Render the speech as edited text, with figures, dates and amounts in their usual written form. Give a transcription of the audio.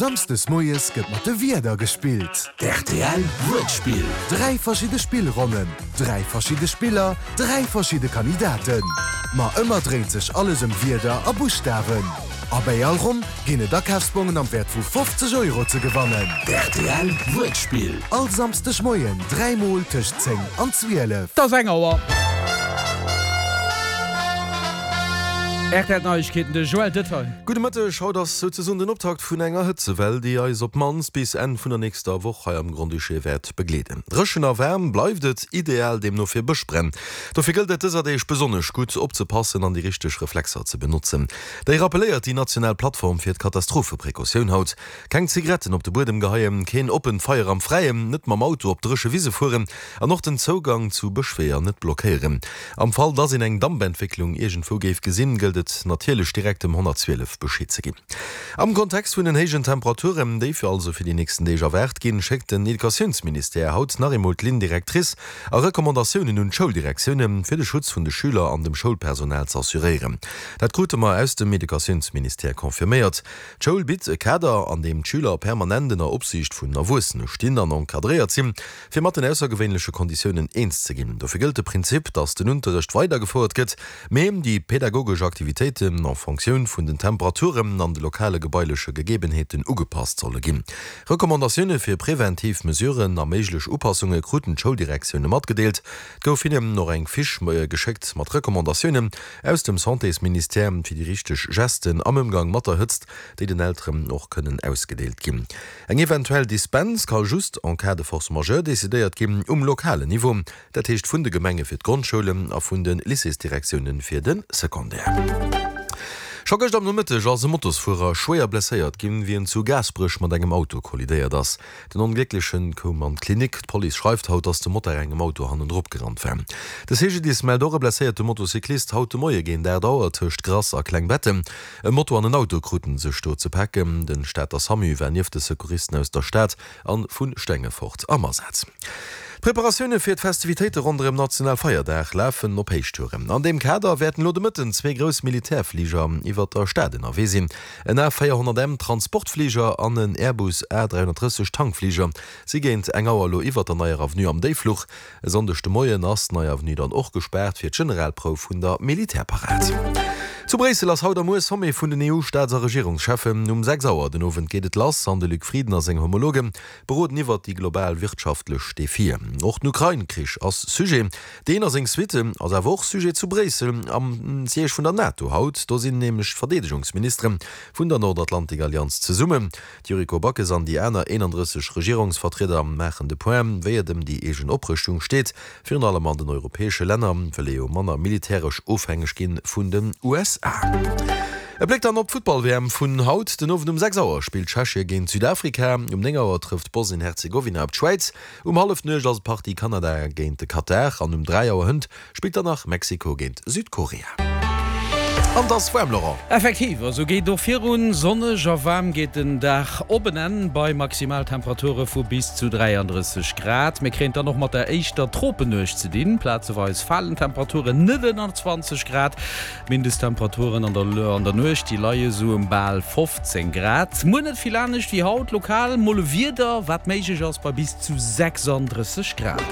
Samsdes moies gëtt mat de Wierder gespillt. Rtl Wuertspill. 3 verschidde Spillronnen, 3 verschidde Spiller, 3 verschidde Kandidaten. Ma ëmmer dréint sech alles ëm Wierder a Buschtawen. A bäi all Ronn ginn et Akafsbongen am Wäert vu 50 Euro ze gewannen. Rtl Wuertspill. All Samsdeg Moien 3 mol tëscht 10 an 12. 't ass eng Auer. Rtl Neiegkeeten, de Joël Detail. Gudde Mëtteg, haut ass souzesoen den Optakt vun enger Hëtzewell, déi eis op d'mannst bis Enn vun der nächster Woch hei am Grand-Duché wäert begleeden. Dréchen a waarm bleift et, ideal deemno fir Bëschbränn. Dofir gëllt et dëser Deeg besonnesch gutt opzepassen an déi richteg Reflexer ze benotzen. Déi rappelléiert déi national Plattform fir d'Katastropheprecautioun haut. Keng Zigaretten op de Buedem geheien, keen oppent Feier am Fräien, net mam Auto op dréche Wise fueren An och den Zougang zu Bëschweeër net blockéieren. Am Fall, dass een eng Dampentwécklung iergendwou géif gesinn, gëllt et natierlech direkt dem 112 Bescheed ze ginn. Am Kontext vun den héijen Temperaturen, déi fir also fir déi nächsten Deeg erwaart ginn, schéckt den Educatiounsministère haut nach eemol d'Ligne directrice a Recommandatiounen un d'Schouldirektioune fir de Schutz vun de Schüler an dem Schoulpersonal z'assuréieren. Dat krute mer aus dem Educatiounsministère confirméiert. D'Schoul bitt e Kader, an deem d'Schüler permanent ënner Opsiicht vun Erwuessene stinn an encadréiert sinn. Fir mat den aussergewéinleche Konditiounen eens ze ginn. Dofir gëllt de Prinzip, datt den Unterrecht weidergefouert gëtt, mee déi pedagogesch Aktivitéiten en Fonctioun vun den Temperaturen an de lokale gebaileche Gegebenheeten ugepasst solle ginn. Recommandatioune fir preventiv Mesuren a méiglech Upassunge kruten d'Schouldirektioune matgedeelt. Et gouf hinnen och eng Fiche geschéckt mat Recommandatiounen aus dem Santésministère fir déi richteg Gesten am Ëmgang mat der Hëtzt, déi den Elteren och kënnen ausgedeelt ginn. Eng eventuell Dispens ka just en cas de force majeure decidéiert ginn um lokalen Niveau, dat heescht vun de Gemenge fir d'Grondschoulen a vun de Lycéesdirektioune fir de Secondaire. Scho gëscht am Nomëtteg ass e Motosfuerer schwéier blesséiert ginn, wéi en zu Gaasperech mat engem Auto kollidéiert ass. Den Onglécklechen koum an d'Klinik. D'Police schreift haut, dass de Motard engem Auto hannendrop gerannt war. De CGDIS mellt och e blesséierte Motocyclist haut de Moie géint 8 Auer tëscht Grass a Klengbetten. E Moto an en Auto kruten sech do ze paken. Den Stater Samu war nieft de Secouristen aus der Stad an vu Stengefort am Asaz. D'Preparatioune fir d'Festivitéite ronderëm Nationalfeierdag lafen op Héichtouren. An deem Kader wäerten elo de Mëtten zwee grouss Militärfliger iwwert der Stad ënnerwee sinn. En A 400 M Transportfliger an en Airbus A 330 Tankfliger si géint eng Auer elo iwwert der Neier Avenue am Déiffluch. E Sonndeg de Moien ass d'Nei Avenue dann och gespaart fir d'Generalprouf vun der Militärparad. Zu Bréissel ass haut a muer Sommet vun den EU-Staats a Regierungscheffen. Um 6 Auer den Owend geet et lass an de Luc Frieden a seng Homologe beroden iwwert déi global wirtschaftlech Defien. Och den Ukrain-Krich ass Sujet. Deen a seng Suite ass awer och Sujet zu Bréissel am Siège vun der NATO haut. Do sinn nämlech d'Verdeedegungsministere vun der Nordatlantik-Allianz zesummen. D'Yuriko Backes an déi aner 31 Regierungsvertrieder maachen de Point, wéi et ëm déi eegen Oprëschtung steet. Virun allem an den europäesche Länner wëll ee jo manner militäresch ofhängeg ginn vun den USA. E Bléck dann op d'Futtball-WM vun haut. Den Owend um 6 Auer spillt Tschechie géint Südafrika, um 9 Auer trëfft Bosnien-Herzegowina op d'Schwäiz, um Hallefnuecht ass d'Partie Kanada géint de Katar an um 3 Auer hënt Spillt dann nach Mexiko géint Südkorea. An et ass waarm, Laurent. Effektiv, a sou geet et och virun. Sonneg a waarm geet den Dag op en Enn bei Maximaltemperature vu bis zu 33 Grad. Mir kréien et dann och mat der éischter Tropennuecht ze dinn. Plazeweis falen d'Temperaturen net ënner 20 Grad. D'Mindesttemperaturen an der Nuecht, déi leie sou ëm bal 15 Grad. Muer net vill anescht wéi haut, lokal mol e Wieder, wat méiglech ass bei bis zu 36 Grad.